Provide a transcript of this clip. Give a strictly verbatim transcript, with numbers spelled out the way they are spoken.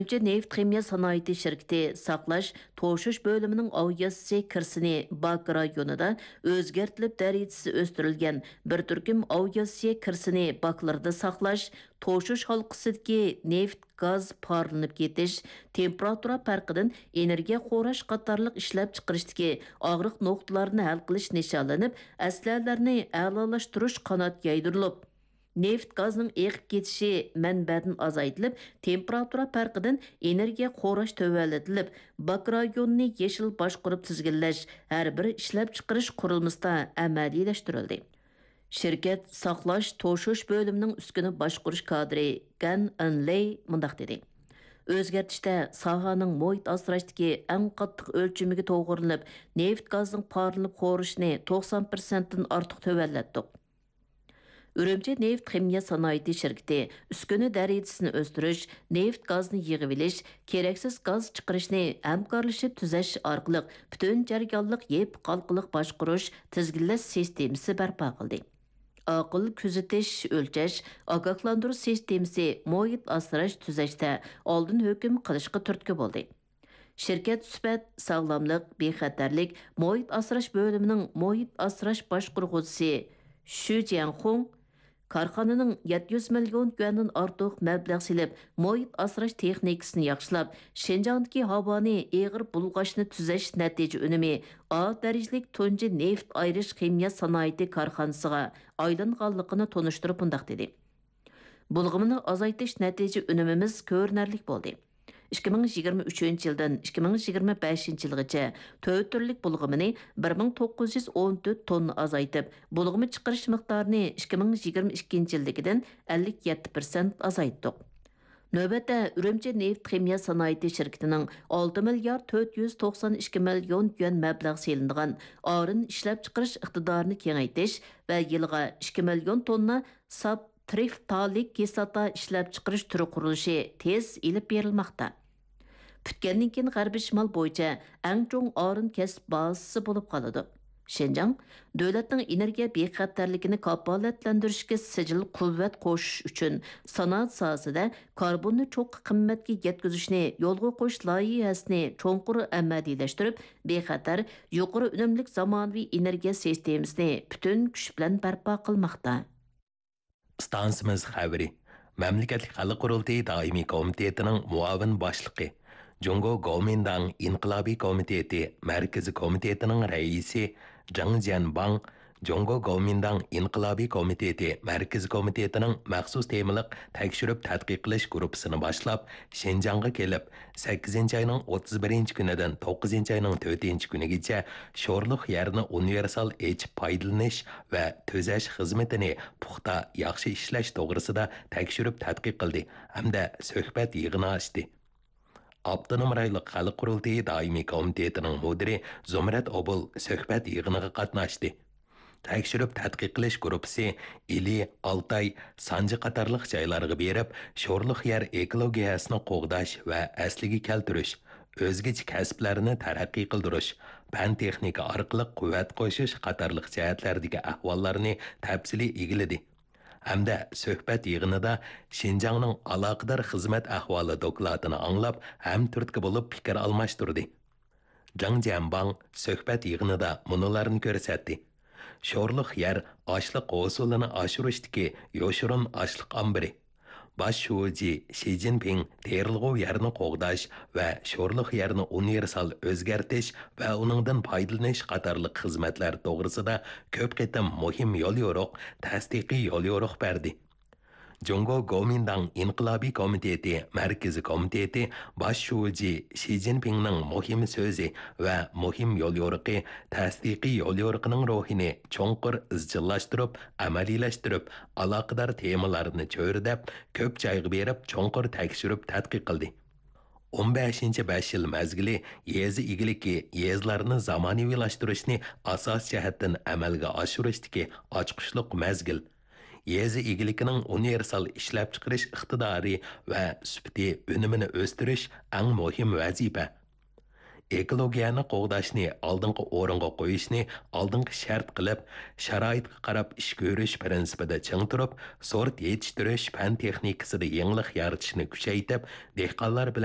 ئۈرۈمچى نېفىت خىمىيە سانائىتى شىركىتى ساقلاش، توشۇش بۆلۈمىنىڭ ئاۋىئاتسىيە كىرىسىنى باك رايونىدا ئۆزگەرتىلىپ دەرىجىسى ئۆستۈرۈلگەن بىر تۈركۈم ئاۋىئاتسىيە كىرىسىنى باكلىرىدا ساقلاش، توشۇش ھالقىسىدىكى نېفىت، گاز پارلىنىپ كېتىش، تېمپېراتۇرا پەرقىدىن ئېنېرگىيە خوراش قاتارلىق ئىشلەپچىقىرىشتىكى ئاغرىق نۇقتىلارنى ھەل قىلىش نىشانلىنىپ، ئەسلىھەلەرنى ئەلالاشتۇرۇش قانات يايدۇرۇلۇپ، نېفىت گازنىڭ ئېقىپ كېتىشى مەنبەدىن ئازايتىلىپ، تېمپېراتۇرا پەرقىدىن ئېنېرگىيە خوراش تۆۋەنلىتىلىپ، باك رايونىنى يېشىل باشقۇرۇپ تىزگىنلەش ھەر بىر ئىشلەپچىقىرىش قۇرۇلمىسىدا ئەمەلىيلەشتۈرۈلدى. شىركەت ساقلاش، توشۇش بۆلۈمىنىڭ ئۈسكۈنە باشقۇرۇش كادىرى گەن ئېنلېي مۇنداق دېدى: ئۆزگەرتىشتە ساھەنىڭ مۇھىت ئاسراشتىكى ئەڭ قاتتىق ئۆلچىمىگە توغرىلىنىپ، نېفىت گازنىڭ پارلىنىپ خورىشىنى توقسان پىرسەنتتىن ئارتۇق تۆۋەنلەتتۇق. ئۈرۈمچى نېفىت خىمىيە سانائىتى شىركىتى ئۈسكۈنە دەرىجىسىنى ئۆستۈرۈش، نېفىت گازنى يىغىۋېلىش، كېرەكسىز گاز چىقىرىشنى ھەمكارلىشىپ تۈزەش ئارقىلىق پۈتۈن جەريانلىق يېپىق ھالقىلىق باشقۇرۇش، تىزگىنلەش سىستېمىسى بەرپا قىلدى. ئاقىل كۆزىتىش، ئۆلچەش، ئاگاھلاندۇرۇش سىستېمىسى مۇھىت ئاسراش تۈزەشتە ئالدىن ھۆكۈم قىلىشقا تۈرتكە بولدى. شىركەت سۈپەت، ساغلاملىق، بىخەتەرلىك، مۇھىت ئاسراش بۆلۈمىنىڭ مۇھىت ئاسراش باشقۇرغۇچىسى شۈ جيەنخۇڭ، كارخانىنىڭ يەتتە يۈز مىليون يۈەندىن ئارتۇق مەبلەغ سېلىپ، مۇھىت ئاسراش تېخنىكىسىنى ياخشىلاپ، شىنجاڭدىكى ھاۋانى ئېغىر بۇلغاشنى تۈزەش نەتىجە ئۈنۈمى ئا دەرىجىلىك تۇنجى نېفىت ئايرىش خىمىيە سانائىتى كارخانىسىغا ئايلانغانلىقىنى تونۇشتۇرۇپ مۇنداق دېدى: بۇلغىمىنى ئازايتىش نەتىجە ئۈنۈمىمىز كۆرۈنەرلىك بولدى. ئىككى مىڭ يىگىرمە ئۈچىنچى يىلدىن ئىككى مىڭ يىگىرمە بەشىنچى يىلغىچە تۆت تۈرلۈك بۇلغىمىنى بىر مىڭ توققۇز يۈز ئون تۆت توننا ئازايتىپ، بۇلغىما چىقىرىش مىقدارىنى ئىككى مىڭ يىگىرمە ئىككىنچى يىلدىكىدىن ئەللىك يەتتە پىرسەنت ئازايتتۇق. نۆۋەتتە، ئۈرۈمچى نېفىت خىمىيە سانائىتى شىركىتىنىڭ ئالتە مىليارد تۆت يۈز توقسان ئىككى مىليون يۈەن مەبلەغ سېلىنغان ئارىن ئىشلەپچىقىرىش ئىقتىدارىنى كېڭەيتىش ۋە يىلىغا ئىككى مىليون توننا ساپ ترىفتالىك كىسلاتا ئىشلەپچىقىرىش تۈرى قۇرۇلۇشى تېز ئېلىپ بېرىلماقتا. پۈتكەندىن كېيىن غەربىي شىمال بويىچە ئەڭ چوڭ ئارىن كەسىپ بازىسى بولۇپ قالىدۇ. شىنجاڭ دۆلەتنىڭ ئېنېرگىيە بىخەتەرلىكىنى كاپالەتلەندۈرۈشكە سىجىل قۇۋۋەت قوشۇش ئۈچۈن، سانائەت ساھەسىدە كاربوننى چوڭقۇر قىممەتكە يەتكۈزۈشنى يولغا قويۇش لايىھەسىنى چوڭقۇر ئەمەلىيلەشتۈرۈپ، بىخەتەر، يۇقىرى ئۈنۈملۈك زامانىۋى ئېنېرگىيە سىستېمىسىنى پۈتۈن كۈچ بىلەن بەرپا قىلماقتا. ئىستانسىمىز خەۋىرى. مەملىكەتلىك خەلق قۇرۇلتىيى دائىمىي كومىتېتىنىڭ مۇئاۋىن باشلىقى، جۇڭگو گومىنداڭ ئىنقىلابىي كومىتېتى مەركىزىي كومىتېتىنىڭ رەئىسى جېڭ جيەنباڭ جۇڭگو گومىنداڭ ئىنقىلابىي كومىتېتى مەركىزىي كومىتېتىنىڭ مەخسۇس تېمىلىق تەكشۈرۈپ تەتقىق قىلىش گۇرۇپپىسىنى باشلاپ، شىنجاڭغا كېلىپ، سەككىزىنچى ئاينىڭ ئوتتۇز بىرىنچى كۈنىدىن توققۇزىنچى ئاينىڭ تۆتىنچى كۈنىگىچە شورلۇق يەرنى ئۇنىۋېرسال ئېچىپ پايدىلىنىش ۋە تۈزەش خىزمىتىنى پۇختا، ياخشى ئىشلەش توغرىسىدا تەكشۈرۈپ تەتقىق قىلدى ھەمدە سۆھبەت يىغىنى ئاچتى. ئاپتونوم رايونلۇق خەلق قۇرۇلتىيى دائىمىي كومىتېتىنىڭ مۇدىرى زۇمرەت ئوبۇل سۆھبەت يىغىنىغا قاتناشتى. تەكشۈرۈپ تەتقىق قىلىش گۇرۇپپىسى ئىلى، ئالتاي، سانجى قاتارلىق جايلارغا بېرىپ، شورلۇق يەر ئېكولوگىيەسىنى قوغداش ۋە ئەسلىگە كەلتۈرۈش، ئۆزگىچە كەسىپلەرنى تەرەققىي قىلدۇرۇش، پەن-تېخنىكا ئارقىلىق قۇۋۋەت قوشۇش قاتارلىق جەھەتلەردىكى ئەھۋاللارنى تەپسىلىي ئىگىلىدى ھەمدە سۆھبەت يىغىنىدا شىنجاڭنىڭ ئالاقىدار خىزمەت ئەھۋالى دوكلاتىنى ئاڭلاپ، ھەمتۈرتكە بولۇپ پىكىر ئالماشتۇردى. جاڭ جيەنباڭ سۆھبەت يىغىنىدا مۇنۇلارنى كۆرسەتتى: شورلۇق يەر ئاشلىق ھوسۇلىنى ئاشۇرۇشتىكى يوشۇرۇن ئاشلىق ئامبىرى. باش شۇجى شى جىنپىڭ تېرىلغۇ يەرنى قوغداش ۋە شورلۇق يەرنى ئۇنىۋېرسال ئۆزگەرتىش ۋە ئۇنىڭدىن پايدىلىنىش قاتارلىق خىزمەتلەر توغرىسىدا كۆپ قېتىم مۇھىم يوليورۇق، تەستىقىي يوليورۇق بەردى. جۇڭگو گومىنداڭ ئىنقىلابىي كومىتېتى مەركىزىي كومىتېتى باش شۇجى شى جىنپىڭنىڭ مۇھىم سۆزى ۋە مۇھىم يوليورۇقى، تەستىقىي يوليورۇقىنىڭ روھىنى چوڭقۇر ئىزچىللاشتۇرۇپ، ئەمەلىيلەشتۈرۈپ، ئالاقىدار تېمىلارنى چۆرىدەپ، كۆپ جايغا بېرىپ، چوڭقۇر تەكشۈرۈپ تەتقىق قىلدى. ئون بەشىنچى بەش يىل مەزگىلى يېزا ئىگىلىكى، يېزىلارنى زامانىۋىلاشتۇرۇشنى ئاساسىي جەھەتتىن ئەمەلگە ئاشۇرۇشتىكى ئاچقۇچلۇق مەزگىل. يېزا ئىگىلىكىنىڭ ئۇنىۋېرسال ئىشلەپچىقىرىش ئىقتىدارى ۋە سۈپىتى ئۈنۈمىنى ئۆستۈرۈش ئەڭ مۇھىم ۋەزىپە. ئېكولوگىيەنى قوغداشنى ئالدىنقى ئورۇنغا قويۇشنى ئالدىنقى شەرت قىلىپ، شارائىتقا قاراپ ئىش كۆرۈش پىرىنسىپىدا چىڭ تۇرۇپ، سورت يېتىشتۈرۈش پەن تېخنىكىسىدا يېڭىلىق يارىتىشنى كۈچەيتىپ، دېھقانلار بىلەن